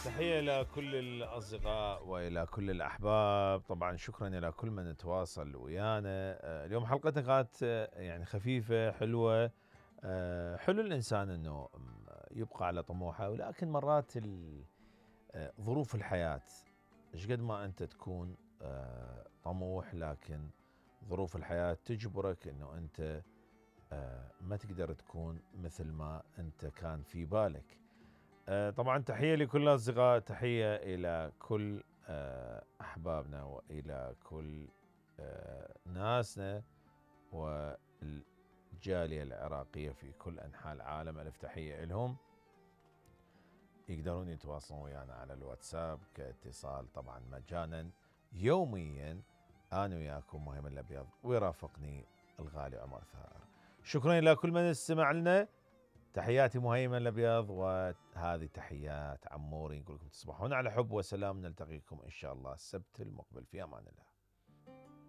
تحية إلى كل الأصدقاء وإلى كل الأحباب. طبعا شكرا إلى كل من تواصل ويانا. اليوم حلقتنا كانت يعني خفيفة حلوة. حلو الإنسان أنه يبقى على طموحه، ولكن مرات ظروف الحياة ايش قد ما أنت تكون طموح، لكن ظروف الحياة تجبرك أنه أنت ما تقدر تكون مثل ما أنت كان في بالك. طبعا تحية لكل الأصدقاء، تحية إلى كل أحبابنا وإلى كل ناسنا والجالية العراقية في كل أنحاء العالم. ألف تحية لهم. يقدرون يتواصلون ويانا على الواتساب كاتصال طبعا مجانا يوميا. أنا وياكم مهيمن الأبيض، ويرافقني الغالي عمر ثائر. شكرا إلى كل من استمع لنا. تحياتي مهيمن الأبيض، وهذه تحيات عموري. نقول لكم تصبحون على حب وسلام. نلتقيكم إن شاء الله السبت المقبل، في أمان الله.